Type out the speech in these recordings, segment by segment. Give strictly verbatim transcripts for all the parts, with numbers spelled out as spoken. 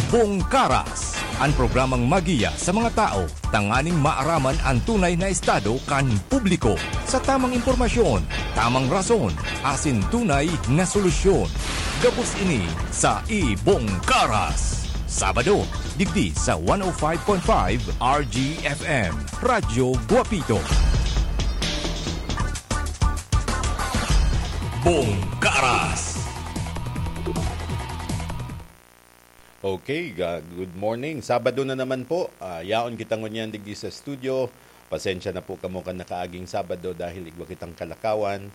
Bongkaras, an programang magiya sa mga tao tanganing maaraman an tunay na estado kan publiko. Sa tamang impormasyon, tamang rason, asin tunay na solusyon. Gabos ini sa Ibongkaras. Sabado, digdi sa one oh five point five R G F M, Radyo Guapito. Bongkaras. Okay, ga-, good morning. Sabado na naman po. Ah, yaon kita ngunyan digdi sa studio. Pasensya na po kamo kan nakaaging Sabado dahil igwa kitang kalakawan.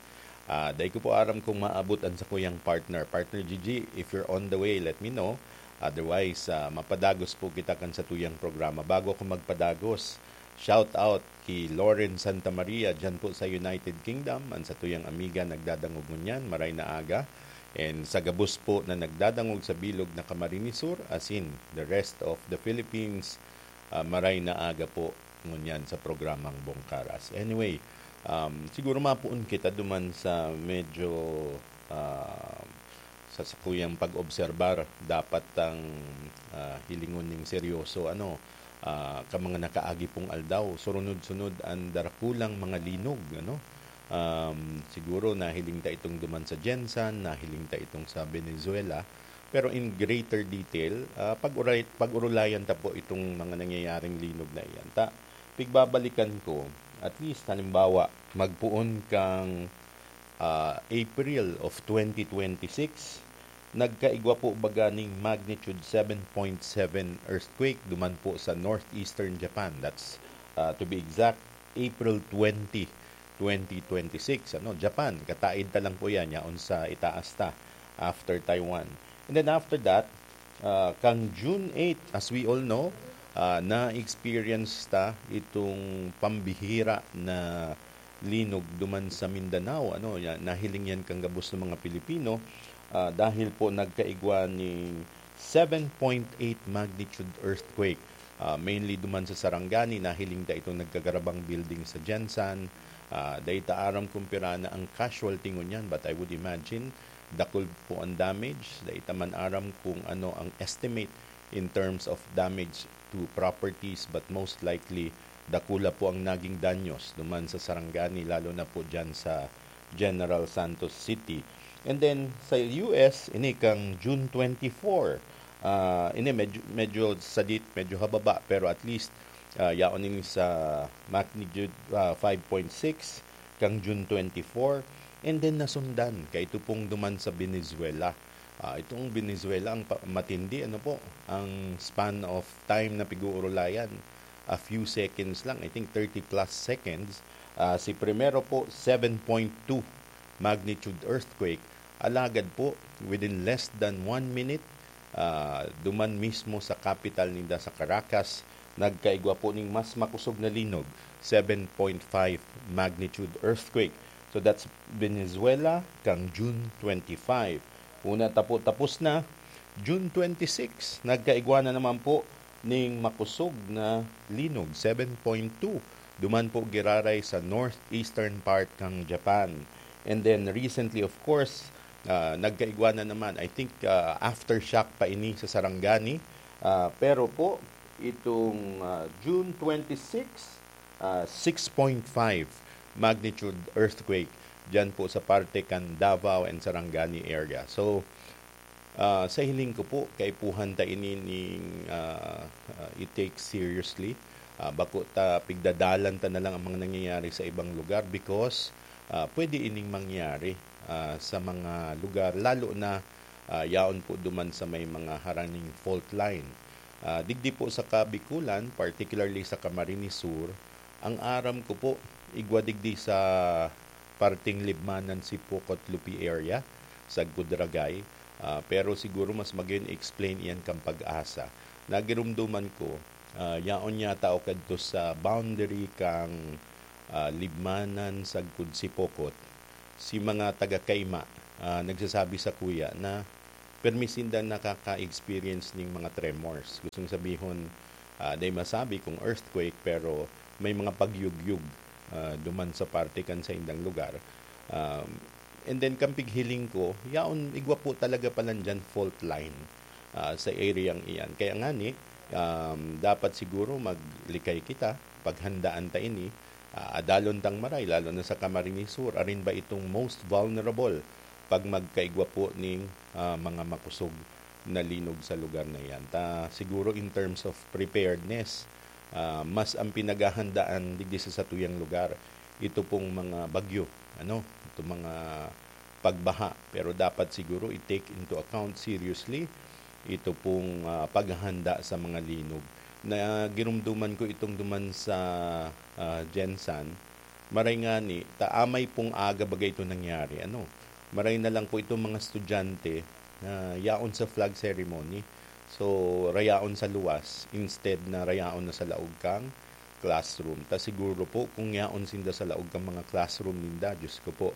Ah, dai ko po aram kung maabot an sakuyang partner. Partner Gigi, if you're on the way, let me know. Otherwise, ah, mapadagos po kita kan satuyang programa. Bago ako magpadagos, shout out ki Lauren Santa Maria, dyan po sa United Kingdom. An satuyang amiga nagdadangog ngunyan, maray na aga. And sa gabos po na nagdadangog sa bilog na Camarines Sur, as in the rest of the Philippines, ah, maray na aga po ngunyan sa programang Bongkaras. Anyway, um, siguro mapuon kita duman sa medyo, ah, sa sakuyang pag-obserbar, dapat tang, ah, hilingon ning seryoso, ano, ah, ka mga nakaagi pong aldaw, surunod-sunod an darakulang mga linog, ano. Um, siguro nahiling ta itong duman sa Gensan, nahiling ta itong sa Venezuela, pero in greater detail, ah, pag-uray-, pag-urulayan ta po itong mga nangyayaring linog na iyan. Ta, pigbabalikan ko, at least, halimbawa, magpoon kang, ah, April of twenty twenty-six, nagkaigwa po baga ning magnitude seven point seven earthquake duman po sa northeastern Japan. That's, ah, to be exact, April twenty, twenty twenty-six. Ano, Japan, kataid ta lang po yan, yaon sa itaas ta, after Taiwan. And then after that, ah, kang June eight, as we all know, ah, na-experience ta itong pambihira na linog duman sa Mindanao. Ano, ya-, nahiling yan kang gabos ng mga Pilipino, ah, dahil po nagkaigwa ning seven point eight magnitude earthquake. Ah, mainly duman sa Sarangani, nahiling ta itong nagkagarabang building sa Gensan. Ah, dai ta aram kung pira na ang casualty ngunyan, but I would imagine dakul po ang damage. Dai ta man aram kung ano ang estimate in terms of damage to properties, but most likely, dakula po ang naging danyos duman sa Sarangani, lalo na po dyan sa General Santos City. And then, sa U S, ini kang June twenty-four, ah, ini medyo, medyo sadit, medyo hababa, pero at least, ah, yaon ini sa magnitude, ah, five point six kang June twenty-four. And then, nasundan, kaito pong duman sa Venezuela. Ah, itong Venezuela, ang pa-, matindi, ano po, ang span of time na pig-uurulayan, a few seconds lang, I think thirty plus seconds. Ah, si primero po, seven point two magnitude earthquake. Alagad po, within less than one minute, ah, duman mismo sa kapital ninda, sa Caracas, nagkaigwa po ning mas makusog na linog, seven point five magnitude earthquake. So that's Venezuela, kang June twenty-five. Una, tapo-, tapos na, June twenty-six, nagkaigwa na naman po ning makosog na linog, seven point two. Duman po giraray sa northeastern part kang Japan. And then recently, of course, ah, nagkaigwa na naman. I think, ah, aftershock pa ini sa Sarangani. Ah, pero po, itong, ah, June twenty-six, ah, six point five magnitude earthquake diyan po sa parte kan Davao and Sarangani area. So, ah, sa hiling ko po, kaipuhan ta ini ning, ah, ah, i-take seriously. Ah, bako ta pigdadalan ta na lang ang mga nangyayari sa ibang lugar because, ah, pwede ining mangyari, ah, sa mga lugar, lalo na, ah, yaon po duman sa may mga haraning fault line. Ah, digdi po sa Kabikulan, particularly sa Camarines Sur, ang aram ko po, igwa digdi sa parting Libmanan, Sipocot, Lupi area, sa Gudragay. Ah, pero siguro mas magayon i-explain iyan kan Pag-asa. Nagirumduman ko, ah, yaon yata o kadto sa boundary kang, ah, Libmanan sagkod Sipocot, si mga taga Caima, ah, nagsasabi sakuya na permi sinda nakaka-experience ning mga tremors. Gustong sabihon, ah, dai masabi kung earthquake, pero may mga pagyugyog, ah, duman sa parte kan saindang lugar. Um, and then, kan pighiling ko, yaon, igwa po talaga pala diyan fault line. ah, sa area iyan. Kaya ngani, um, dapat siguro maglikay kita, paghandaan ta ini, ah, adalon tang maray, lalo na sa Camarines Sur, arin ba itong most vulnerable pag magkaigwa po ning, ah, mga makosog na linog sa lugar na iyan. Ta siguro in terms of preparedness, ah, mas ang pinaghahandaan digdi sa satuyang lugar, ito pong mga bagyo, ano, itong mga pagbaha. Pero dapat siguro i-take into account seriously ito pong, ah, paghahanda sa mga linog. Na girumduman ko itong duman sa, ah, Gensan, maray ngani, ta amay pong aga baga ito nangyari, ano. Maray na lang po itong mga estudyante na yaon sa flag ceremony. So, rayaon sa luwas instead na rayaon na sa laog kang classroom. Ta siguro po, kung yaon sinda sa laog kang mga classroom ninda, Diyos ko po,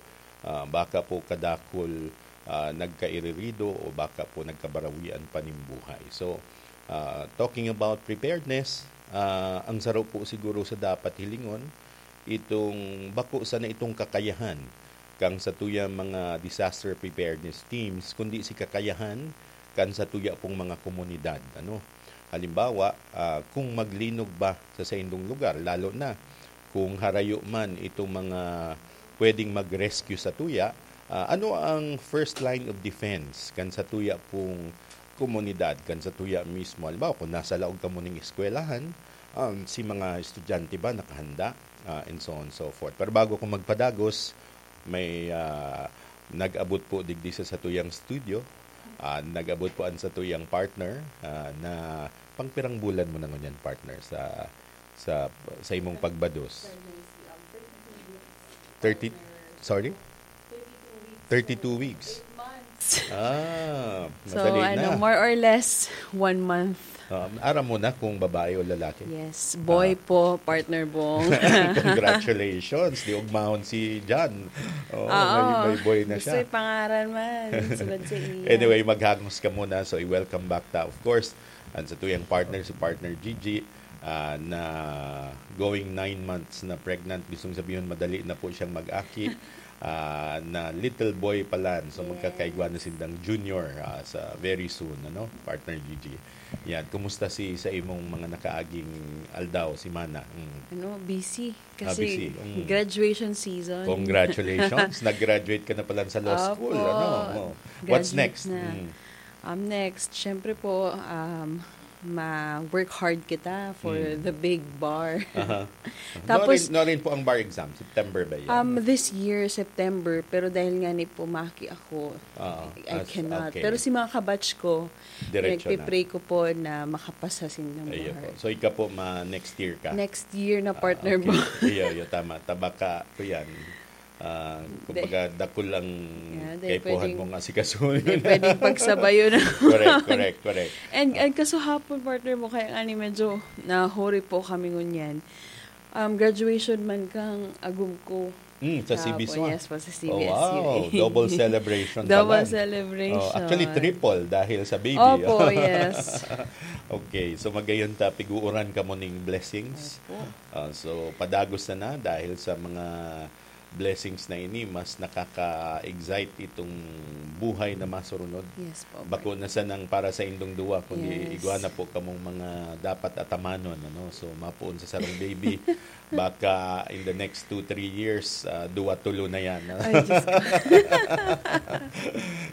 ah, baka po kadakul, ah, nagkairirido o baka po nagkabarawian pa nin buhay. So, ah, talking about preparedness, ah, ang saro po siguro sa dapat hilingon, itong bako sana itong kakayahan kan satuyang mga disaster preparedness teams, kundi si kakayahan kan satuya pong mga komunidad, ano. Halimbawa, ah, kung maglinog ba sa saindong lugar, lalo na kung harayo man itong mga pwedeng mag-rescue satuya, ah, ano ang first line of defense kan satuya pong komunidad, kan satuya mismo? Halimbawa, kung nasa laog kamo ning eskwelahan, um, si mga estudyante ba nakahanda? Ah, and so on and so forth. Pero bago ko magpadagos, may, ah, nag-abot po digdi sa satuyang studio. Ah, nag-abot po an satuyang partner, ah, na pangpirang bulan mo na ngunyan, partner, sa, sa, sa imong pagbados? Thirty, sorry? Thirty-two weeks. Ah, So, madali ano, na. More or less, one month. Um, aram mo na kung babae o lalaki? Yes, boy Ah. po, partner Bong. Congratulations. Di ugmahon si John. Oo, Oo. may, may boy na Gusto siya. yung pangaran man. Sunod sa iya. Anyway, maghangos ka muna. So, i-welcome back ta, of course, ang satuyang partner, si partner Gigi, ah, na going nine months na pregnant. Gustong sabihin, madali na po siyang mag-aki. Ah, na little boy pa lang. So, Yes. magkakaigwa na sindang junior, ah, sa very soon, ano, partner Gigi. Yan. Kumusta si, sa imong mga nakaaging aldaw, si Mana? Mm. Ano, busy. Ah, Kasi busy. Mm. graduation season. Congratulations. Nag-graduate ka na pala sa law school, Opo. ano? Oh. What's Graduate next? na. Mm. Um, next, syempre po, um, ma-work hard kita for Mm. the big bar. Aha. Tapos Norin, norin po ang bar exam? September ba yan? Um, this year, September, pero dahil nga ni pumaki ako, Oo. I, I As, cannot. okay. Pero si mga kabatch ko, Diretso na. nagpe-pray ko po na makapasa sindang Ayun bar. po. So, ikaw po, ma-, next year ka? Next year na, Ah, partner okay. mo. Iyo, iyo, tama. Tabaka ko yan. Ah, Hindi. kumbaga, dakul ang Yeah, hindi, kaipuhan pwedeng, mong asikasuhin. hindi, pwedeng pagsabayo na. Correct, correct, correct. And, Ah. and kaso hapon, partner mo, kaya nga ni medyo nahuri po kami ngunyan. Um, graduation man kang agum ko. Mm, sa Hapon, C B S U, ah. yes po, sa Oh, C B S U. wow. Double celebration Double pala. celebration. Oh, actually, triple dahil sa baby. Opo, yes. Okay, so magayon ta, piguuran ka mo ning blessings. Opo. Ah, so, padagos na na dahil sa mga blessings na ini, mas nakaka-excite itong buhay na masurunod. Yes po, Bako partner. na sanang para sa indong duwa, kundi Yes. igwa na po kamong mga dapat atamanon, ano? So, mapoon sa sarong baby, baka in the next two, three years, ah, duwa, tulo na yan, no? Ay, Diyos ko.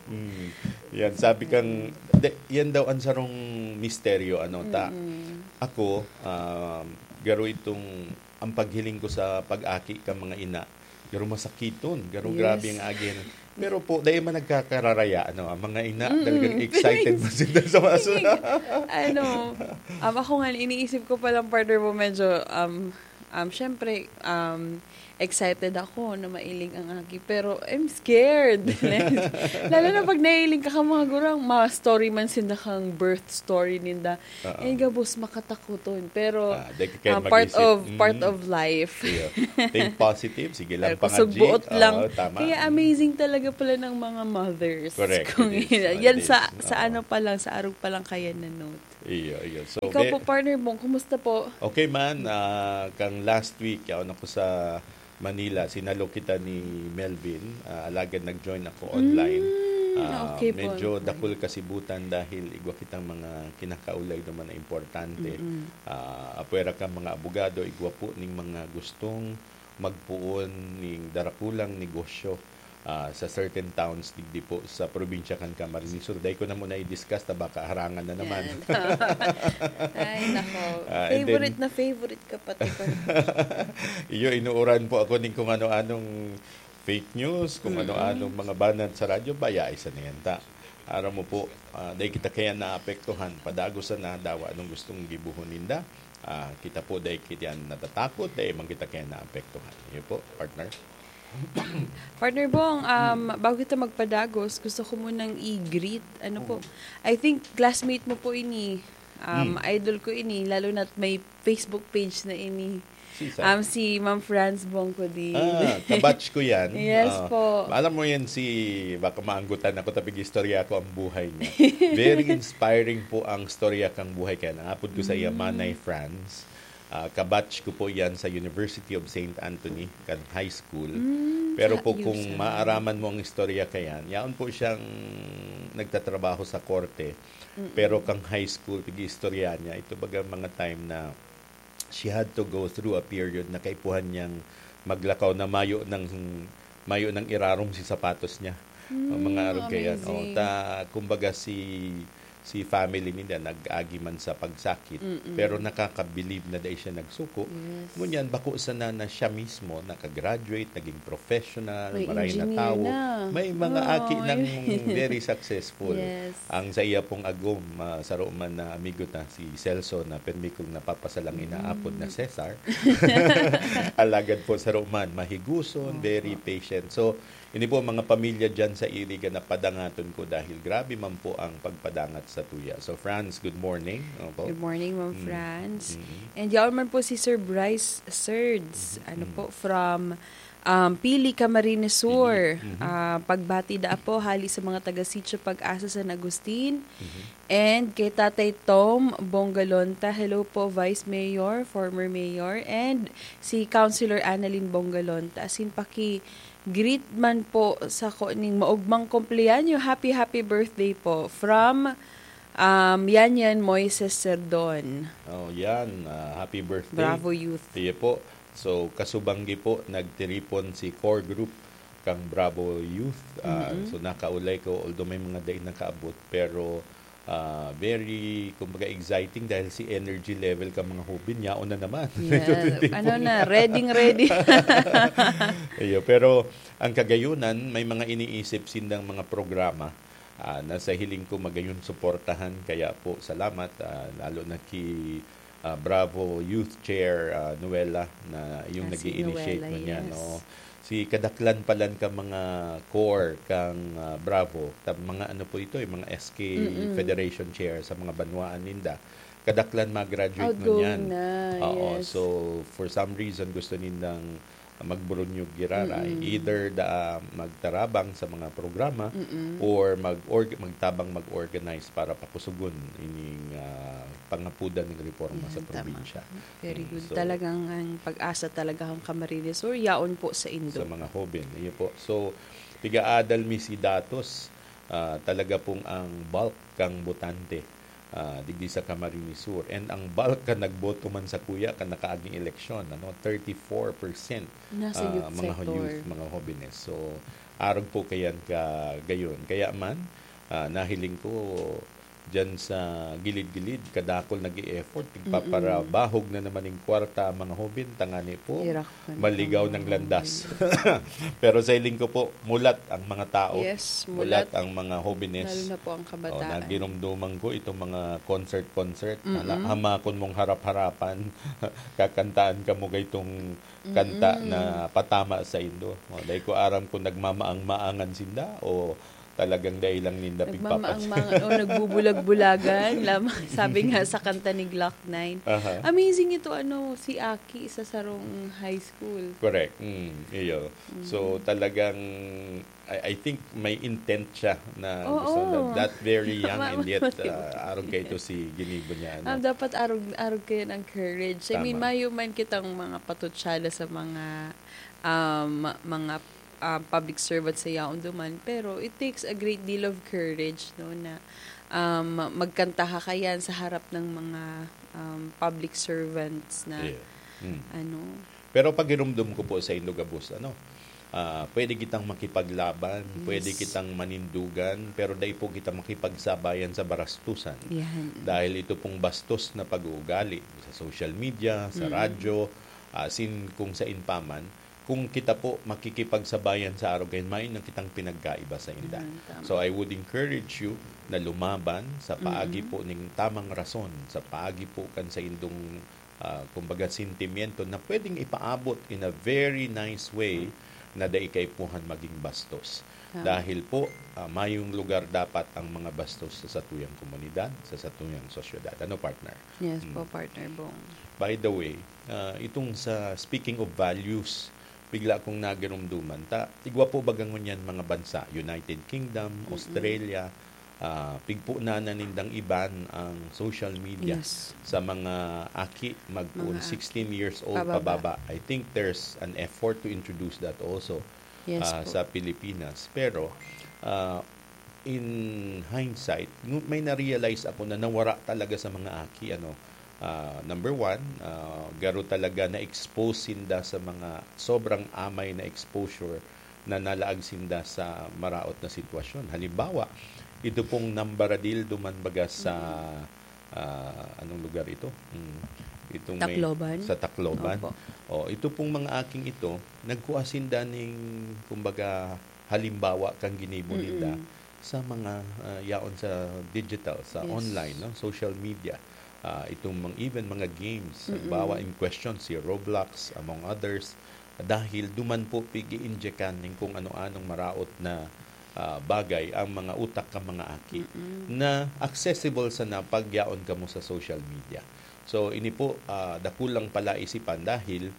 Mm. Yan, sabi kang, de, yan daw ang sarong misteryo, ano, ta? Mm-mm. Ako, um, garo itong, ang paghiling ko sa pag-aki ka mga ina, garo masakiton, garo Yes. grabe ang agi. Pero po, dahil man nagkakararaya, ano, ang mga ina, Mm-mm. talagang excited Feelings. man sila sa mga Feeling, ano, um, ako nga, iniisip ko palang, partner mo, medyo, um, um, syempre, um, excited ako na mailing ang aki, pero I'm scared. Lalo na pag nailing ka ka, mga gurang, ma-story man sinda kang birth story ninda. Oo. Eh, gabos makatakuton. Pero, Ah, di ka kaya ah, part mag-isip. of, part Mm. of life. Iyo. Think positive, sige lang, Pero kusog pangadji. buot lang. Oo, tama. Kaya Mm. amazing talaga pala ng mga mothers. Correct, Kung it is. yan, It sa, is. sa Oo. ano pa lang, sa arog pa lang kaya na note. Iyo, iyo. So, Ikaw be- po, partner mo, kumusta po? Okay man, ah, kang last week, yaon ako sa Manila, sinalo kita ni Melvin, ah, alagad nag-join ako online. Mm. Ah, okay po, medyo okay. Dakul kasibutan dahil igwa kitang mga kinakaulay naman na importante. Mm-mm. Ah, apwera kan mga abogado, igwa po ning mga gustong magpoon ning darakulang negosyo, ah, sa certain towns digdi po sa probinsya kan Camarines Sur. Dai ko na muna i-discuss ta baka harangan na naman. Yan. Ay, nako. Ah, and then, favorite na favorite ka pati ko. Iyo, inuuran po ako ning kung ano-anong fake news, kung Mm-mm. ano-anong mga banat sa radyo, baya, isa na yan ta. Aram mo po, ah, dai kita kaya naapektuhan. Padagos na dawa anong gustong gibuhon ninda. Ah, kita po, dai kita natatakot, dai man kita kaya naapektuhan. Yun po, partner. Partner Bong, um, bago kita magpadagos, gusto ko munang i-greet. Ano po? Mm. I think classmate mo po ini. Um, Mm. idol ko ini, lalo na't may Facebook page na ini. Si saan? Um, si Ma'am Franz Bongcodin. Ah, kabatch ko yan. Yes Ah, po. Alam mo yan si, baka maanggutan ako, tapig istorya ko ang buhay niya. Very inspiring po ang storya kang buhay. Kaya nangapod ko sa iya, Mm. Manay Franz. Ah, kabatch ko po yan sa University of Saint Anthony, kan high school. Mm, Pero sa po kung U S A. maaraman mo ang istorya kayan, yaon po siyang nagtatrabaho sa korte. Mm-mm. Pero kang high school, pag-iistorya niya, ito baga mga time na she had to go through a period na kaipuhan niyang maglakaw na mayo ng, mayo ng irarom si sapatos niya. Ang mga Mm, arog kaya, no? amazing. Ta, kumbaga si, si family nila nag-agi man sa pagsakit, Mm-mm. pero nakakabilib na dai siya nagsuko. Yes. Ngunyan, bako sana na siya mismo nakagraduate, naging professional, May maray na engineer tao. na. May mga Oo, aki ng yun. very successful. Yes. Ang sa iya pong agom, ah, saro man na amigo ta, si Celso, na permi kong napapasalang Mm. inaapod na Cesar. Alagad po saro man, mahiguson, Opo. very patient. So, ini po mga pamilya dyan sa Iriga na padangaton ko dahil grabe man po ang pagpadangat sa tuya. So, Franz, good morning. Opo. Good morning, Ma'am Mm. Franz. Mm-mm. And yaon man po si Sir Bryce Serds, Mm-mm. ano po, from, um, Pili, Camarines Sur. Pili. Mhm. Ah, pagbati daa po hali sa mga taga Sitio Pag-asa, San Agustin. Mhm. And kay Tatay Tom Bongalonta, hello po, Vice Mayor, former Mayor, and si Councilor Annalyn Bongalonta. Asin paki-greet man po sako ning maogmang kumpleanyo. Happy, happy birthday po. From, um, Yanyan Moises Serdon. Oh, yan. Ah, happy birthday. Bravo Youth. Iyo po. So, kasubanggi po, nagtiripon si core group kang Bravo Youth. Ah, Mm-mm. so, nakaulay ko, although may mga dai nakaabot, pero, ah, very, kumbaga, exciting dahil si energy level ka mga hubin, yaon na naman. Yeah. Ito, ito, ito. Ano na, ready, ready. Iyo, pero ang kagayunan, may mga iniisip sindang mga programa, ah, na sa hiling ko magayon suportahan. Kaya po, salamat, ah, lalo na ki, ah, Bravo Youth Chair, ah, Noela, na yung Ah, si nag-i-initiate Noela, man yan, yes. oo. Si kadaklan palan ka mga core kang, ah, Bravo, ta-, mga ano po ito, yung mga S K Mm-mm. Federation Chair sa mga banwaan ninda. Kadaklan mag-graduate man Outgoing yan. na, Oo, yes. so for some reason gusto nindang magburunyog giraray. Mm-mm. Either da, magtarabang sa mga programa Mm-mm. or mag-org-, magtabang mag-organize para pakusugon ining, ah, pangapudan ning reforma sa Yan, tama. probinsya. Very Mm, good. so Talagang ang pag-asa talaga ang Camarines Sur, yaon po sa indo. Sa mga hoben. Iyo po. So, pigaadal mi si datos, ah, talaga pong ang bulk kang botante, ah, digdi sa Camarines Sur. And ang bulk ka nagboto man sa kuya ka nakaaging eleksyon, ano, thirty-four percent, Nasa ah, youth mga sector. youth, mga hobenes. So, arog po kayan ka gayon. Kaya man, ah, nahiling ko, dyan sa gilid-gilid, kadakol nag-e-effort, Mm-mm. nagpaparabahog na naman ning kwarta ang mga hoben, tangani po, Irak man maligaw ang ng mga landas. hoben. Pero sa hiling ko po, mulat ang mga tao, Yes, mulat mulat. ang mga hobenes. Lalo na po ang Oh, kabataan. nagirumduman ko itong mga concert-concert. Hala, Mm-mm. hamakon mong harap-harapan, kakantaan ka mo gaytong kanta Mm-mm. na patama sa indo. Oh, dai ko aram kung nagmamaang-maangan sinda o talagang dai lang ninda pigpapas- Nagmamaang-maangan o nagbubulag-bulagan lamang, sabi nga sa kanta ni Glock nine. Aha. Amazing ito, ano, si Aki sa sarong high school. Correct. Mm, iyo. Mm. So, talagang, I, I think may intent siya na Oo. gusto na that very young and yet, Mamatay. ah, arog kaito si ginibo niya, ano. Ah, dapat arog, arog kayo ng courage. I mean, Tama. mayo man kitang mga patutsada sa mga, um, mga, um, public servant sa yaon duman, pero it takes a great deal of courage, no, na, um, magkanta ka kayan sa harap ng mga, um, public servants na, Yeah. Mm. ano. Pero pagirumdom ko po sa indo gabos, ano, ah, pwede kitang makipaglaban, Yes. pwede kitang manindugan, pero dai po kita makipagsabayan sa barastusan. Yan. Dahil ito pong bastos na pag-uugali sa social media, sa Mm. radyo, asin kung sain pa man, kung kita po makikipagsabayan sa arog kayan, mayo na kitang pinagkaiba sa inda. Mm, tama. So, I would encourage you na lumaban sa paagi Mm. po ning tamang rason, sa paagi po kan sa indong, ah, kumbaga, sentimiento na pwedeng ipaabot in a very nice way na dai kaipuhan maging bastos. Tama. Dahil po, ah, mayong lugar dapat ang mga bastos sa satuyang komunidad, sa satuyang sosyedad. Ano, partner? Yes Mm. po, partner Bong. By the way, ah, itong sa speaking of values, bigla kong nagirumduman ta, igwa po baga ngunyan mga bansa, United Kingdom, Mm-mm. Australia, ah, pigpunanan nindang iban ang social media Yes. sa mga aki magpoon Mga aki. sixteen years old Pababa. pababa. I think there's an effort to introduce that also, Yes ah, po. sa Pilipinas. Pero, ah, in hindsight, ngu-, may na-realize ako na nawara talaga sa mga aki, ano. Ah, number one, ah, garo talaga na-expose sinda sa mga sobrang amay na exposure na nalaag sinda sa maraot na sitwasyon. Halimbawa, ito pong nambaradil duman baga sa, Mm. ah, anong lugar ito? Hmm. Itong may Tacloban? Sa Tacloban. Opo. Oh, ito pong mga aking ito, nagkuha sinda ning, kumbaga, halimbawa kan ginibo ninda Mm-mm. sa mga, ah, yaon sa digital, sa Yes. online, no, social media. Ah, itong mga, even mga games, Mm-mm. halimbawa in question, si Roblox, among others, dahil duman po pig-i-injekan ning kung ano-anong maraot na, ah, bagay ang mga utak kan mga aki Mm-mm. na accessible sana pag yaon kamo sa social media. So, ini po, ah, dakulang palaisipan dahil,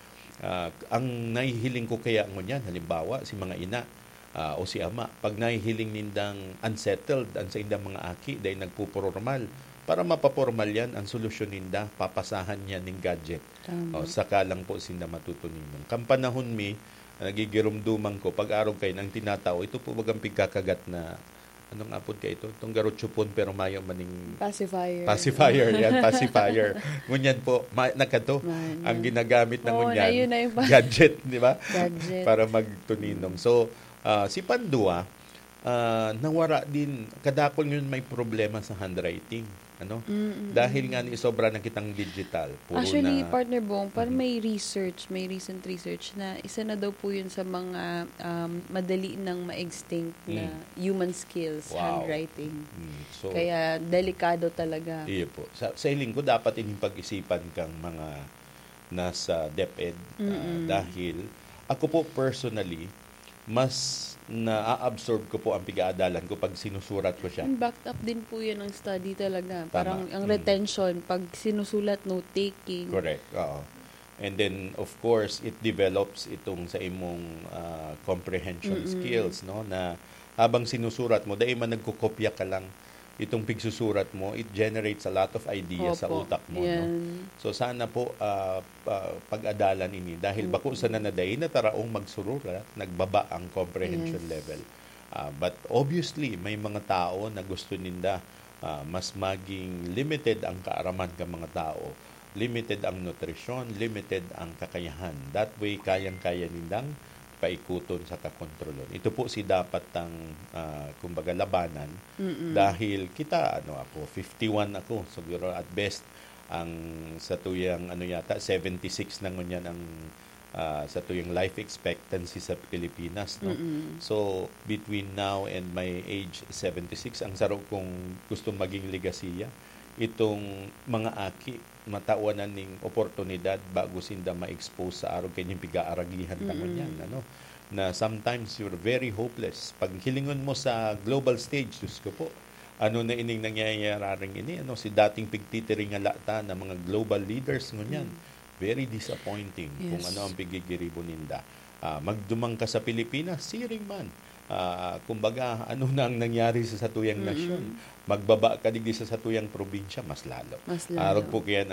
ah, ang nahihiling ko kaya ngunyan, halimbawa, si mga ina, ah, o si ama, pag nahihiling nindang unsettled ang saindang mga aki, dai nagpopormal. Para mapapormal yan, ang solusyon ninda, papasahan niya ning gadget. Tama. O, saka lang po sinda matutuninong. Kan panahon mi, nagigirumduman ko, pag-arog kayo ng tinatao, ito po bagang pigkakagat na, anong apod ka ito? Itong garochupon, pero mayo maning Pacifier. Pacifier, yan, pacifier. Ngunyan po, ma-, nagkato, Man, ang yan. ginagamit na Oo, ngunyan, na yun na yung pa- gadget, di ba? Gadget. Para magtuninong. So, ah, si pandua, ah, nawara din, kadakol ngayon may problema sa handwriting. Ano? Mm, mm, Dahil mm. nga ni sobra na kitang digital. Puro Actually, na Partner Bong, parang Mhm. may research, may recent research na isa na daw po yun sa mga, um, madali nang ma-extinct na Mm. human skills, Wow. handwriting. Mm. So, Kaya delikado talaga. Iyo po. Sa, sa hiling ko, dapat ining pag-isipan kang mga nasa DepEd, ah, Mm-mm. dahil ako po personally, mas na-absorb ko po ang pig-aadalan ko pag sinusurat ko siya. And backed up din po yun ng study talaga. Tama. Parang ang Mm. retention, pag sinusulat, note-taking. Correct, oo. And then, of course, it develops itong sa imong, ah, comprehension Mm-mm. skills, no? Na habang sinusurat mo, dai man nagkukopya ka lang. Itong pigsusurat mo, it generates a lot of ideas sa Opo, utak mo, no? yan. So, sana po, ah, ah, pag-adalan ini. Dahil Mm. bako sana na dai na taraong magsururat, nagbaba ang comprehension Yes. level. Ah, but obviously, may mga tao na gusto ninda, ah, mas maging limited ang kaaraman kan mga tao, limited ang nutrisyon, limited ang kakayahan. That way, kayang-kaya nindang paikuton saka kontrolon. Ito po si dapat tang, ah, kumbaga, labanan. Mm-mm. Dahil kita, ano ako, fifty-one ako. Siguro at best, ang satuyang, ano yata, seventy-six na ngunyan ang, ah, satuyang life expectancy sa Pilipinas, no? Mm-mm. So, between now and my age seventy-six, ang saro kong gustong maging legasiya, itong mga aki, matawan na ning oportunidad bago sinda ma-expose sa arog kanyang pigaaragihan ta Mm. ngunyan, ano? Na sometimes you're very hopeless. Pag hilingon mo sa global stage, Diyos ko po, ano na ining nangyayararing ini? Ano, si dating pigtitiringala ta na mga global leaders ngunyan, Mm. very disappointing kung Yes. ano ang pigigiribo ninda. Ah, magduman ka sa Pilipinas, siring man. Ah, kumbaga, ano na ang nangyari sa satuyang Mm-mm. nasyon? Magbaba ka digdi sa satuyang probinsya, mas lalo. Mas lalo. Arog po kaya